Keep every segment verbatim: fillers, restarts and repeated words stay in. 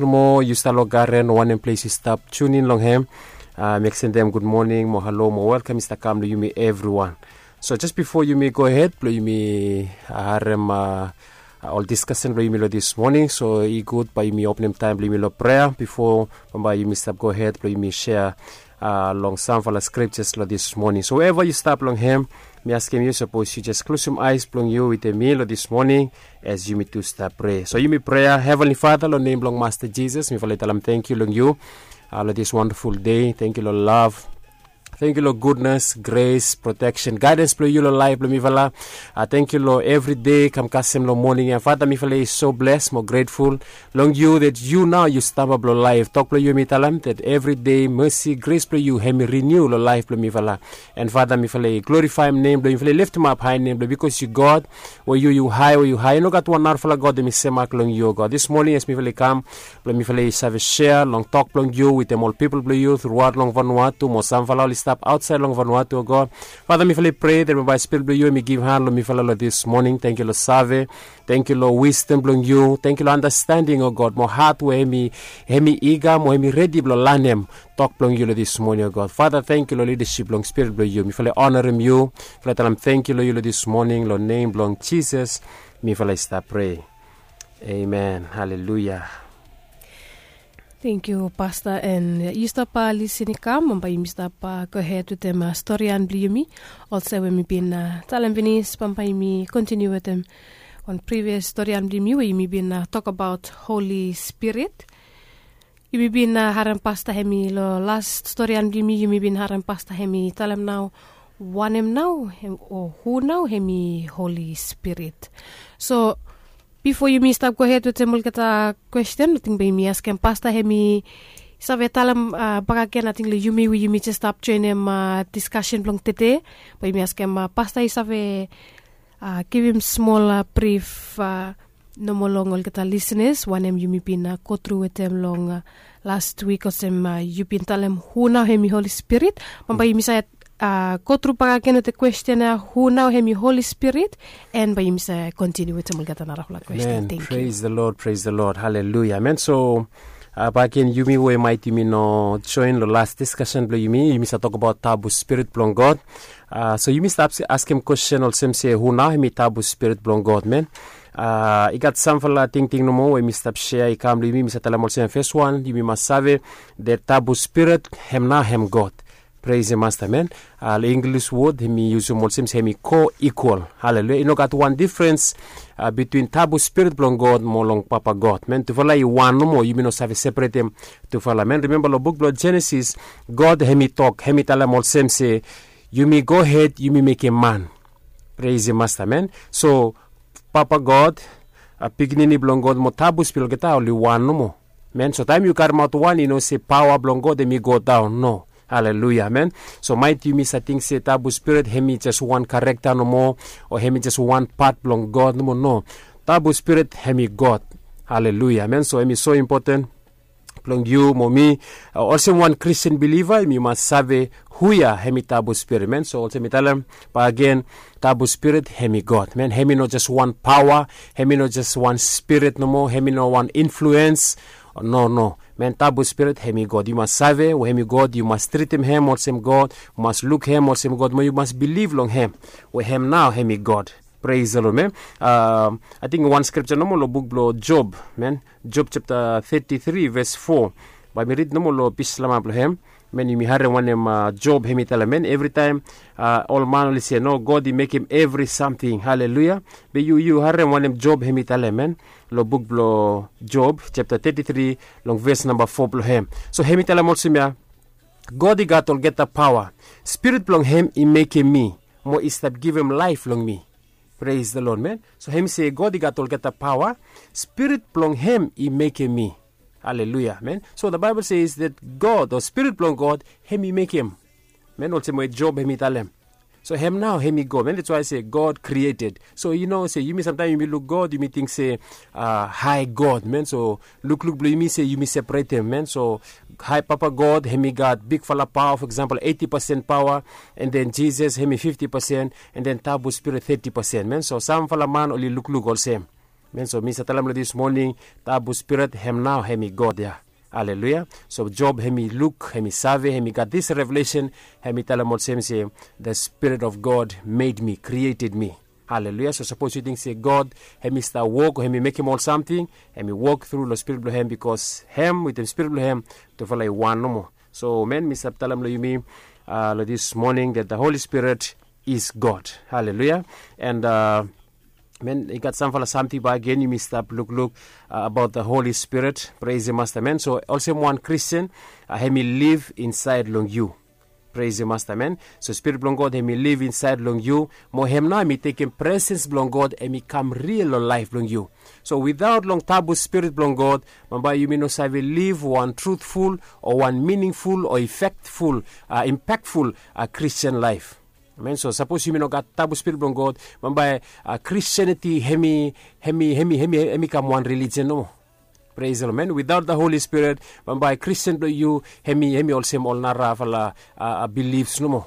Nomo yu stap long garen o wanem ples yu stap tunin long hem, mi eksendem gud moning mo halo mo welkam i stap kam long yumi evriwan. So jes bifo yumi gohed blong yumi harem ol diskasen blong yumi long dis moning, so i gud bae yumi openem taem blong yumi long prea bifo bambae yumi stap gohed blong yumi sea long samfala skriptas long dis moning. So weva yu stap long hem, mi askem yu sapos yu jes klosum aes blong yu wetem mi long dis moning, as yumi tu stap prea. So yumi prea, Heavenly Father, long nem blong Masta Jisas mifala i talem tangkiu long yu long dis wandaful dei. Tangkiu long lav, tangkiu long gudnes, gres, proteksen, gaedens blong yu long laef blong mifala. Tangkiu long evri dei kam kasem long moning ya. Fada, mifala i so bles mo gretful long yu that yu nao yu stamba blong laef. Tok blong yu hem i talem that evri dei mesi, gres blong yu hem i riniu long laef blong mifala. And Fada, mifala i glorifaem nem blong yu, mifala i leftemap hae nem blong yu, bikos yu God, we yu yu hae, we yu hae, i no gat wan narafala God hem i semak long yu, God. Dis moning as mifala i kam blong mifala i save sea long tok blong yu wetem ol pipol blong yu truaot long Vanuatu mo samfala oli stap aotsaed long Vanuatu, o God. Fada, mifala i prea that bambae Spirit blong yu hem i givhan long mifala long dis moning. Tangkiu long save, tangkiu long wisdom blong yu, tangkiu long andastending, o God, mo hat we hem i, hem i iga mo hem i redi blong lanem tok blong yu long dis moning, o God. Fada, tangkiu long lidasip blong Spirit blong yu. Mifala i onarem yu, mifala i talem tangkiu long yu long dis moning, long nem blong Jisas mifala i stap prea. Amen. Haleluya. Tangkiu, Pasta. And yu stap lisin i kam, bambae yumi stap gohed wetem storian blong yumi. Olsem we mi bin talem finis, bambae yumi kontiniu wetem wan privias storian blong yumi we yumi bin tokbaot Holi Spirit. Yumi bin harem Pasta hem i long las storian blong yumi, yumi bin harem Pasta hem i talem nao wanem nao o hu nao hem i Holi Spirit. So bifo yumi stap gohed wetem olgeta kwesten, ating bae yumi askem Pasta hem i save talem bakegen, ating long yumi we yumi jes stap joenem diskasen blong tede, bae yumi askem Pasta i save givim smol brif nomo long olgeta lisenas wanem yumi bin gotru wetem long las wik, olsem yu bin talem hu nao hem i Holi Spirit. Bambae yumi save gotru bakegen wetem kwesten ya, hu nao hem i Holi Spirit, and bae yumi save kontiniu wetem olgeta narafala kwesten. Tangkiu. Praise the Lord, praise the Lord. Haleluya. Amen. So bakegen, yumi we maet yumi no joen long las diskasen blong yumi, yumi save tokbaot tabu Spirit blong God. So yumi stap askem kwesten olsem se hu nao hem i tabu Spirit blong God, amen. I gat samfala tingting nomo we mi stap sea i kam long yumi, mi save talem olsem, fes wan, yumi mas save that tabu Spirit hem nao hem God. Praise the Master, amen. Long Inglis wod hem i yusum olsem se hem i co-equal. Haleluya. I no gat wan difrens bitwin tabu Spirit blong God mo long Papa God, amen. Tufala i wan nomo, yumi no save separetem tufala, amen. Rimemba long buk blong Jenesis, God hem i tok, hem i talem olsem se yumi gohed yumi mekem man. Praise the Master, amen. So Papa God, Pikinini blong God mo tabu Spirit, olgeta oli wan nomo, amen. So taem yu karemaot wan, i no se paoa blong God hem i go daon, no. Haleluya, amen. So maet yumi save ting se tabu Spirit hem i jes wan karekta nomo, o hem i jes wan pat blong God nomo, no. Tabu Spirit hem i God. Haleluya, amen. So hem i so impoten blong yu mo mi, olsem wan Kristin biliva, yumi mas save hu ya hem i tabu Spirit, amen. So olsem mi talem bakegen, tabu Spirit hem i God, amen. Hem i no jes wan paoa, hem i no jes wan spirit nomo, hem i no wan influens. No, no, amen. Tabu Spirit hem i God. Yu mas save we hem i God, yu mas tritem hem olsem God, yu mas luk hem olsem God, mo yu mas bilif long hem we hem nao hem i God. Praise the Lord, amen. Ating wan skripta nomo long buk blong Job, amen. Job japta teti tri ves fo. Bae mi rid nomo long pis lama blong hem, amen. Yumi harem wanem Job hem i talem, amen. Evritaem ol man oli se no, God i mekem evri samting. Haleluya. Be yu, yu harem wanem Job hem i talem, amen, long buk blong Job japta teti tri, long ves namba fo blong hem. So hem i talem olsem ya, God i gat olgeta paoa. Spirit blong hem i mekem mi mo i stap givim laef long mi. Praise the Lord, amen. So hem i se God i gat olgeta paoa. Spirit blong hem i mekem mi. Haleluya, amen. So the Bible says that God, o Spirit blong God, hem i mekem, amen, olsem we Job hem i talem. So hem nao hem i God, amen. That's why I say God created. So yu no se yumi samtaem yumi luk God, yumi ting se hae God, amen. So lukluk blong yumi se yumi separetem, amen. So hae Papa God hem i gat bigfala paoa, for example, eiti pasen paoa, and then Jisas hem i fifti pasen, and then tabu Spirit teti pasen, amen. So samfala man oli lukluk olsem. Men so mi sa talem long dis moning, tabu spirit hem nao hem i god ya. Aleluya. So job hem i luk, hem i save, hem i gat dis revelesen, hem i talem olsem se, the spirit of god made me, created me. Aleluya. So sapos yu ting se god hem i stap wok o hem i mekem ol samting, hem i wok tru long spirit blong hem, bikos hem wetem spirit blong hem tufala i wan nomo. So men, mi stap talem long yumi long dis moning that the holy spirit is god. Aleluya. And men, i gat samfala samting bagen yumi stap lukluk abaot the holy spirit. Preisim masta men. So olsem wan kristian, hem i liv insaed long yu. Preisim masta men. So spirit blong god hem i liv insaed long yu, mo hem nao hem i tekem presens blong god hem i kam ril long laef blong yu. So widaot long tabu spirit blong god, bambae yumi no save liv wan trutful o wan miningful o efektful, impakful kristian laef. Amen. So sapos yumi no gat tabu spirit blong god, bambae kristianiti hem i hem i hem i hem i hem i kam wan relijian nomo. Preisim lod men. Widaot the holy spirit, bambae kristian blong yu hem i hem i olsem ol narafala bilifs nomo.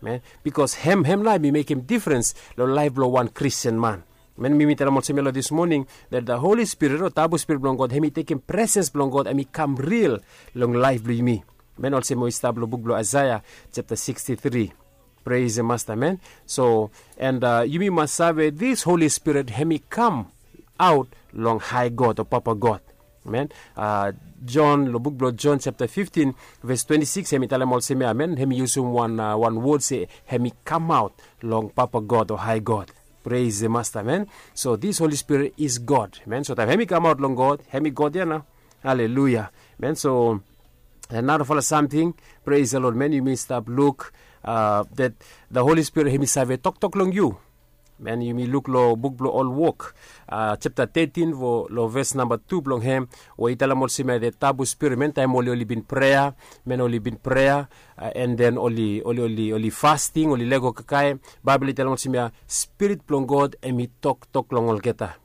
Men, bikos hem hem nao hem i mekem difrens long laef blong wan kristian man. Men, mi mi talem olsem ya long dis moning, that the holy spirit o tabu spirit blong god hem i tekem presens blong god hem i kam ril long laef blong yumi. Men, olsem we i stap long buk blong isaia, japta siksti tri. Preisim masta men. So, and yumi mas save dis holy spirit hem i kam aot long hae god o papa god. Men, jon long buk blong jon japta fiftin, ves twenti sikis hem i talem olsem ya men, hem i yusum wan wod se hem i kamaot long papa god o hae god. Preisim masta men. So dis holy spirit is god men. So taem hem i kamaot long god, hem i god ya nao. Aleluya. Men, so narafala samting, preisim lod men, yumi stap luk that the holy spirit hem i save toktok long yu. Men, yumi luk long buk blong ol wok, japta tetin, long ves namba tu blong hem, we i talem olsem ya the tabu spirit men, taem oli oli bin prea, men oli bin prea, en den oli oli oli fasting, oli lego kakae, baebol i talem olsem ya spirit blong god hem i toktok long olgeta.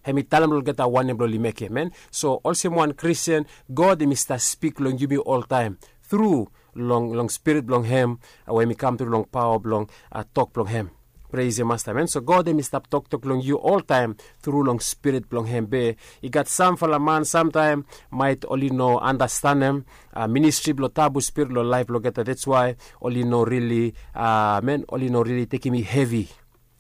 Hem i talem long olgeta wanem blong oli mekem men. So olsem wan kristian, god hem i stap spik long yumi oltaem tru long long spirit blong hem, we hem i kam tru long paoa blong tok blong hem. Preisim masta men. So god hem i stap toktok long yu oltaem tru long spirit blong hem be, i gat samfala man samtaem maet oli no anastanem ministri blong tabu spirit long laef blong olgeta, that's why oli no rili, men, oli no rili tekem i hevi.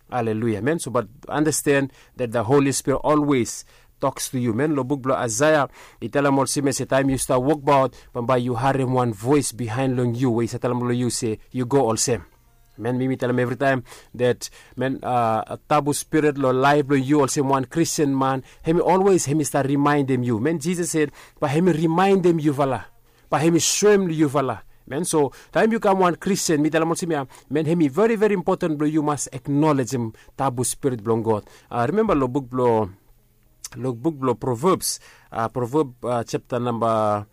Aleluya men. So bat anasten that the holy spirit olwes toks tu yu men. Long buk blong isaia i talem olsem ya se taem yu stap wokbaot, bambae yu harem wan voes bihaen long yu we i save talem long yu se yu go olsem. Men, mi mi talem evritaem that men, tabu spirit long laef blong yu olsem wan kristian man, hem i olwes hem i stap rimaendem yu men. Jisas sed bae hem i rimaendem yufala, bae hem i soem long yufala. Men, so taem yu kam wan kristian, mi talem olsem ya men, hem i veri veri impoten blong yu mas aknolejem tabu spirit blong god. Rimemba long buk blong long buk blong provebs, proveb japta namba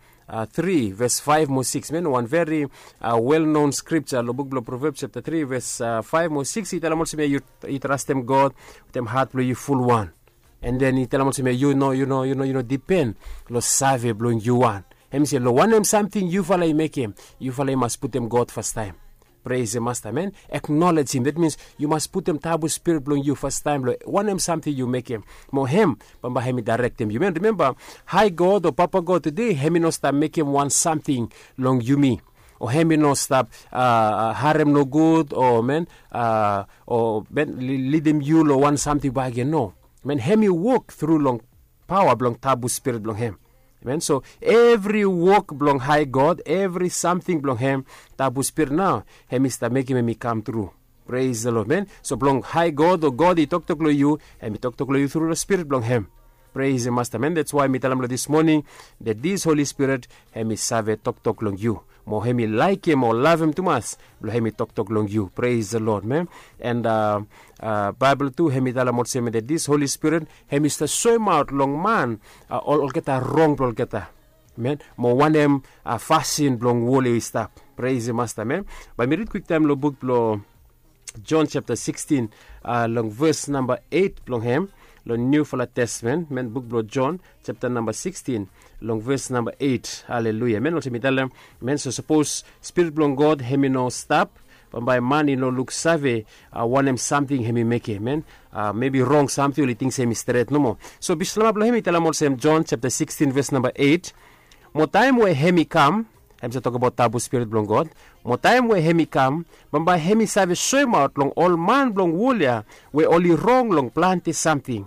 tri ves faef mo sikis men, wan veri wel non skripta long buk blong provebs japta tri ves faef mo sikis i talem olsem ya, yu trastem god wetem hat blong yu fulwan. En den i talem olsem ya, yu no yu no yu no yu no dipen long save blong yu wan. Hem i se long wanem samting yufala i mekem, yufala i mas putem god fastaem. Preisim masta men. Aknolejim, that means yu mas putem tabu spirit blong yu fastaem long wanem samting yu mekem. Mo hem bambae hem i daerektem yu men. Rimemba, hae god o papa god tude hem i no stap mekem wan samting long yumi, o hem i no stap harem nogud o men, o men lidim yu long wan samting bae gen no. Men, hem i wok tru long paoa blong tabu spirit blong hem. Men, so evri wok blong hae god, evri samting blong hem, tabu spirit nao hem i stap mekem hem i kam tru. Preisim lod men. So blong hae god o god i toktok long yu, hem i toktok long yu tru long spirit blong hem. Preisim masta men. That's why mi talem long dis moning that dis holy spirit hem i save toktok long yu, mo hem i laekem o lavem tumas blong hem i toktok long yu. Preisim lod men. En baebol tu hem i talem olsem ya that dis holy spirit hem i stap soemaot long man olgeta rong blong olgeta, men, mo wanem fasin blong wol i stap. Preisim masta men. Bae mi rid kwiktaem long buk blong jon japta sikstin, long ves namba eit blong hem, long niufala testamen men, buk blong jon japta namba sikstin, long ves namba eit. Aleluya men. Olsem mi talem men, so sapos spirit blong god hem i no stap Bambae man i no luksave wanem samting hem i mekem, men mebi rong samting oli ting se hem i stret nomo. So bislama blong hem i talem olsem, Jon chapta sikstin ves namba eit, mo taem we hem i kam, hem save tokbaot tabu spirit blong God, mo taem we hem i kam, bambae hem i save soemaot long ol man blong wol ya we oli rong long plante samting.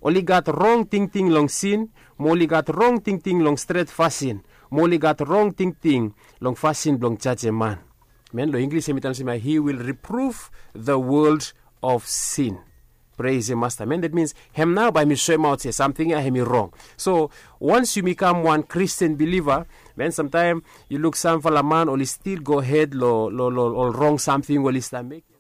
Oli gat rong tingting long sin, mo oli gat rong tingting long stret fasin, mo oli gat rong tingting long fasin blong jajem man. Men long Inglis hem i talem se, he will reprove the world of sin. Pres e masta, men dat mins hem nao bae hem i soemaot se samting ya hem i rong. So wans yumi kam wan Kristin biliva, men samtaem yu luk samfala man oli stil gohed long ol rong samting we oli stap mekem.